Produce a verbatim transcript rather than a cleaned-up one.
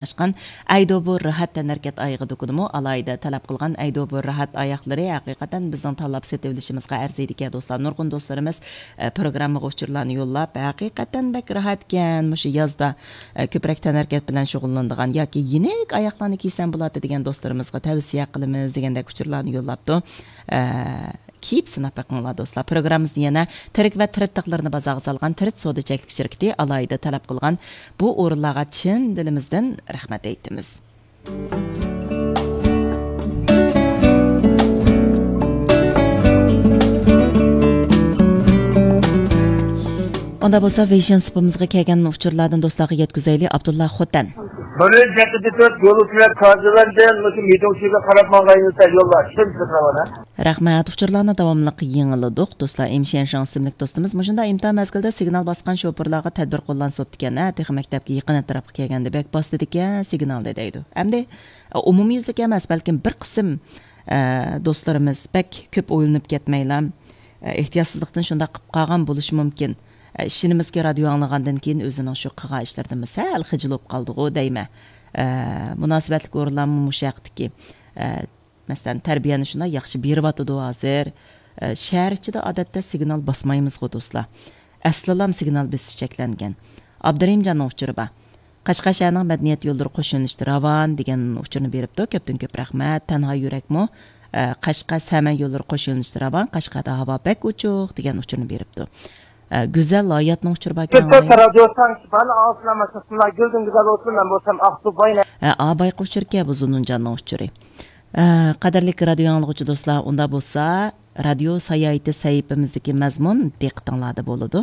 قاتناشقان ئەيدۇ بۇ راھەت تەنھەرىكەت ئايىغى دۇكىنىمۇ ئالاھىدە تەلەپ قىلغان ئەيدۇ بۇ راھەت ئاياغلىرى ھەقىقەتەن بىزنىڭ تاللاپ سېتىۋېلىشىمىزغا ئەرزىيدىكەن دوستلار. نۇرغۇن دوستلىرىمىز، ئە، پروگراممىغا ئۇچۇرلارنى يوللاپ، ھەقىقەتەن بەك راھەتكەن، مۇشۇ يازدا، ئە، كۆپرەك تەنھەرىكەت بىلەن شۇغۇللىنىدىغان ياكى يېنىك ئاياغلارنى كىيسەم بولاتتى دېگەن دوستلىرىمىزغا تەۋسىيە قىلىمىز دېگەندەك ئۇچۇرلارنى يوللاپتۇ. ئە، كىيىپ سىناپ بېقىڭلار دوستلار. پروگراممىمىزنى يەنە تىرىك ۋە تىرىت تاغلىرىنى بازارغا سالغان تىرىت سودا چەكلىك شىركىتى ئالاھىدە تەلەپ قىلغان بۇ ئورۇنلارغا چىن دىلىمىزدىن رەھمەت ئېيتىمىز. ئۇندا بولسا ۋېيشىن سۇپىمىزغا كەلگەن ئۇچۇرلاردىن دوستلارغا يەتكۈزەيلى. ئابدۇللا خوتەن. بىر يۈز يەتتە تۆت يولۇچىلار كارزىۋەندىن مۇشۇ مىدۇڭچىگە قاراپ ماڭغان يوللار شۇنچە. رەھمەت، ئۇچۇرلارنى داۋاملىق يېڭىلىدۇق. دوستلار، ئىم شيەنشاڭ ئىسىملىك دوستىمىز مۇشۇنداق ئىمتىھان مەزگىلىدە سىگنال باسقان شوپۇرلارغا تەدبىر قوللانسا بوپتىكەن ھە، تېخى مەكتەپكە يېقىن ئەتراپقا كەلگەندە بەك باسىدىكەن سىگنالنى دەيدۇ. ئەمدى، ئە، ئومۇميۈزلۈك ئەمەس، بەلكىم بىر قىسىم، ئە، دوستلىرىمىز بەك كۆپ ئويلىنىپ كەتمەيلا، ئە، ئېھتىياتسىزلىقتىن شۇنداق قىلىپ قالغان بولۇشى مۇمكىن. ئە، ئىشىنىمىزكى، رادىيو ئاڭلىغاندىن كېيىن ئۆزىنىڭ شۇ قىلغان ئىشلىرىدىن سەل خىجىل بولۇپ قالدىغۇ دەيمەن. ئە، مۇناسىۋەتلىك ئورۇنلارمۇ مۇشۇ ھەقتىكى، ئە، مەسىلەن، تەربىيەنى شۇنداق ياخشى بېرىۋاتىدۇ ھازىر. ئە، شەھەر ئىچىدە ئادەتتە سىگنال باسمايمىزغۇ، دوستلار. ئەسلىلام سىگنال بېسىش چەكلەنگەن. ئابدۇرېھىمجاننىڭ ئۇچۇرى بار. قەشقەر شەھىرىنىڭ مەدەنىيەت يوللىرى قوش يۆنىلىشتە راۋان دېگەن ئۇچۇرنى بېرىپتۇ. كۆپتىن كۆپ رەھمەت. تەنھا يۈرەكمۇ، ئە، قەشقەر سەمەن يوللىرى قوش يۆنىلىشتە راۋان، قەشقەردە ھاۋا بەك ئوچۇق دېگەن ئۇچۇرنى بېرىپتۇ. ئە، گۈزەل ھاياتنىڭ ئۇچۇرى باركەن. كۆپتۆت رادىيو سانكىسى بارلىق ئاڭلىغۇچىلار مۇشۇ سىزلار گۈلدىن گۈزەل بولسۇن، مەن بولسام ئاقسۇ باينى. ئە، ئا بايقى ئۇچۇركەن بۇ زۇنۇنجاننىڭ ئۇچۇرى. ئە، قەدىرلىك رادىيو ئاڭلىغۇچى دوستلار، ئۇندا بولسا رادىيو ساياھىتى سەھىپىمىزدىكى مەزمۇن دىققىتىڭلاردا بولىدۇ.